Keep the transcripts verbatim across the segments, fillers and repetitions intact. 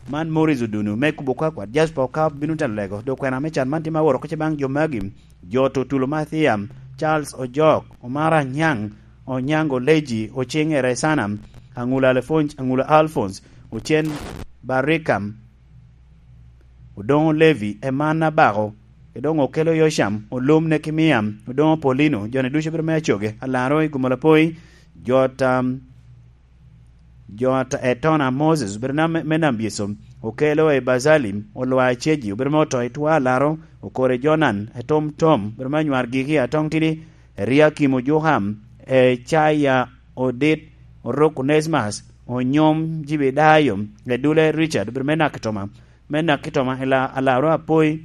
Man Morris Odunu me kubo kwakwa, Jasper Okap bino telo lego. Dok kwena me can man tye ma aworo oko ce baŋ jo magi: Jot Otulo Mathiam, Charles Ojok, Omar Anyaŋ, Onyango Leji, Oceŋ Eresana, Aŋulo Alphonse, Aŋulo Alphonse, Ocen Barikam, Odoŋo Levi, Eman Abako, Edoŋo Okelo Yocam, Olum Nekemia, Odoŋo Paulino, jo-ni ducu bedo me Acoge, Alaro i Gumala Poi, Jot, um, Jot Etona Moses, bedo na me, me Nam Byeco, Okelo i Bazalim, Olwa Ceji, obedo me Oto i Twa Alaro, Okore Jonan, Etom Tom, bedo me Anywar Giki, Atong Tidi, Eriakim Ojukam, Ecaya Odit, Oruk Onesmus, Onyom Jibedayo, Edule Richard, bedo me Nakitoma, me Nakitoma, Ela-, Alaro Apoi,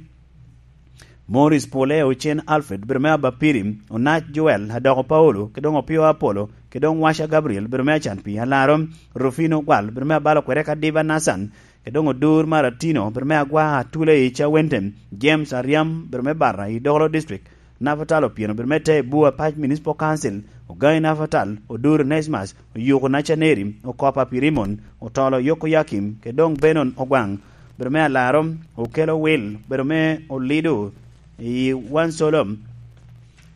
Morris Pole, Ocen Alfred, bedo me Abapiri, Onac Joel, Adoko Paulo, kede doŋ Opio Apolo, kede doŋ Washa Gabriel, bedo me Acan Pi, Alaro, Rufino Gwal, bedo me Abalo Kwere ka Diva Nathan, kede doŋ Odur Maratino, bedo me Agwa Atula i Cawente, James Ariam, bedo me Barra i Dokolo District, Nafatal Opieno, bedo me Te Bua Pac Municipal Council, Ogai Nafatal, Odur Nesmas, Oyuko Nacaneri, Okopa Pirimon, Otolo Yoko Yakim, kede doŋ Benon Ogwaŋ, bedo me Alaro, Okelo Wil, bedo me Olido i Wansolom.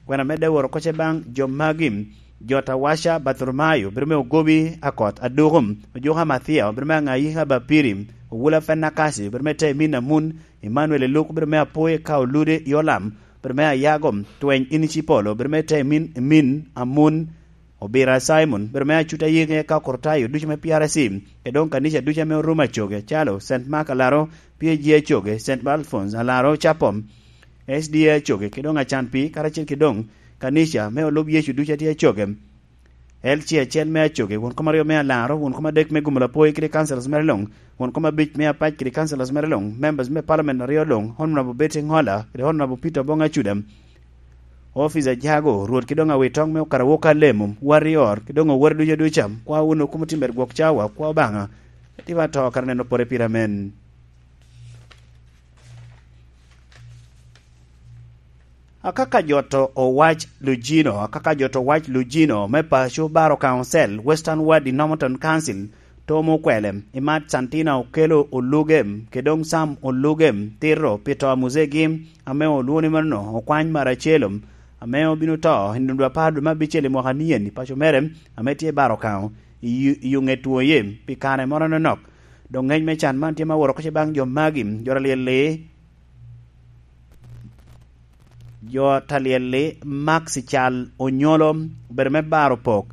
Kwena medde woro koce baŋ jo magi: Jot Awaca Bartholomayo, bedo me Ogobi Akot Adukum, Ojuka Mathiya, bedo me Aŋayika Bapiri, Owula Fenakasi, bedo me Te Emin Amun, Emmanuel Eluk, bedo me Apoye ka Olude i Olam, bedo me Ayago, Tweny Inicipolo, bedo me Te Emin, Emin Amun, Obira Simon, bedo me Acuta Yege ka Okortayo ducu me P R C, kede doŋ kanica ducu ame orumo Acoge, calo Saint Mark Alaro, P A G Acoge, Saint Alphonse Alaro Capom, S D A Acoge, kede doŋ Acan Pi, karacel kede doŋ kanica me olub Yecu ducu a tye Acoge, L C acel me Acoge, won kom aryo me Alaro, won kom adek me Gumula Poi kede councillors mere luŋ, won kom abic me Apac kede councillors mere luŋ, members me parliament aryo luŋ, Honorable Betty Ŋola kede Honorable Peter Oboŋ Acuda, Office Ajago, Rwot kede doŋ Awitoŋ me Okarawoka Alemo, Warrior, kede doŋ owor ducu aduca, kwa wunu kom otimere gwok cawa, kwa Obaŋa, tima to kara neno pore pire amen. Akaka Jot Owac Lugino, Akaka Jot Owac Lugino me paco Baro Council, Western Ward i Normanton Council, Tom Okwele, Imat Santina Okelo Oluge, kede doŋ Sam Oluge, tito pi to a muzegi ame olwoŋo ni mano okwany Maracelo, ame obino to i nino dwe apar dwe me abicel i mwaka nien i paco mere, ame tye i Baro Kaŋo, i, i Oŋet Woye, pi kare moro anonok. Doŋ ŋec me can man tye ma woro oko ce baŋ jo magi: Jot Alyel-li, Jot Alyel-li, Max Cal Onyolo, obedo me Baro Pok,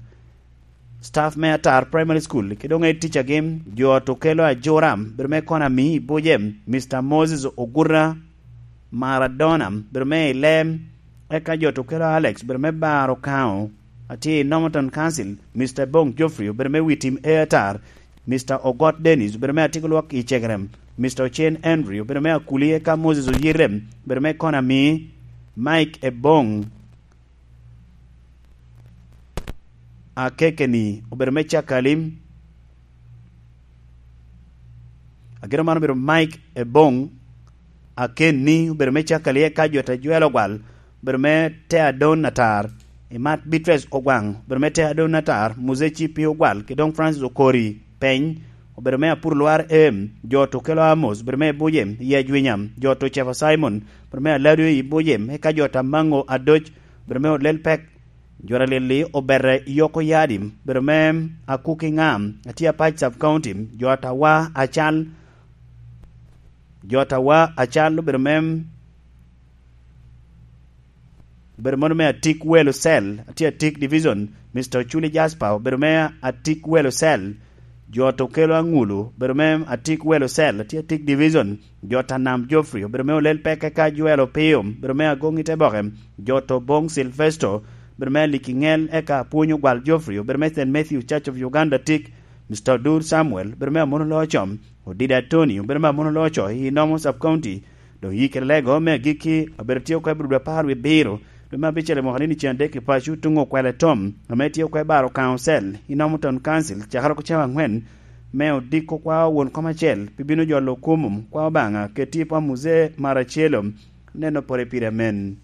staff me Atar Primary School, kede doŋ ticagi, Jot Okelo Ajura, obedo me Konami i Buje, Mister Moses Oguta Maradona, obedo me Ile, eka Jot Okelo Alex, obedo me Baro Kaŋo, atye i Normanton Council, Mister Bong Geoffrey, obedo me Witim e Atar, Mister Ogot Dennis, obedo me Atik Lwak i Cegerem, Mister Ocen Henry, obedo me Akuli, eka Moses Oyirem, obedo me Konami, Mike Ebong, Akekeni, obedo me Cakalim, ageno man obedo Mike Ebong, Akenni, obedo me Cakalim, eka Jot Ajwel Ogwal, obedo me Te Adon Atar, Imat Beatrice Ogwaŋ, obedo me Te Adon Atar, Muzeci Pi Ogwal, kede doŋ Francis Okori, Peny, obedo me Apur Lwar Em, Jot Okelo Amos, obedo me Buje, i Ajwinya, Jot Ocefa Simon, obedo me Alado i Buje, eka Jot Amaŋo Adoc, obedo me Olel Pek, Jot Alyel-li, obedo i Yoko Yadi, obedo me Akuki Ŋam, atye Apac Sub County, Jot Awa Acal, Jot Awa Acal, obedo me, obedo mono me Atik Welo Cell, atye Atik Division, Mister Oculi Jasper, obedo me Atik Welo Cell, Jot Okelo Aŋulu, obedo me Atik Welo Cell, atye Atik Division, Jot Anam Geoffrey, obedo me Olel Peke ka Joel Opio, obedo me Agoŋ i Teboke, Jot Oboŋ Silvesto, obedo me Aliki Ŋel, eka Apwony Ogwal Geoffrey, obedo me Saint Matthew Church of Uganda Tik, Mister Odur Samuel, obedo me Amono Locom, Odida Tony, obedo me Amono Loco i Nomo Sub County, doŋ yikere lego me agikki, obedo tye oko i Budo apar wie abiro, dwe me abicel i mwaka ni ceŋ adek i paco tuŋ Okwele Tom, ame tye oko i Baro Council, i Normanton Council, cakere oko cawa aŋwen, me odiko kwa won kom acel, pi bino jolo kumum, kwa Obaŋa, keti i pom Muzee Maracelo, neno pore pire amen.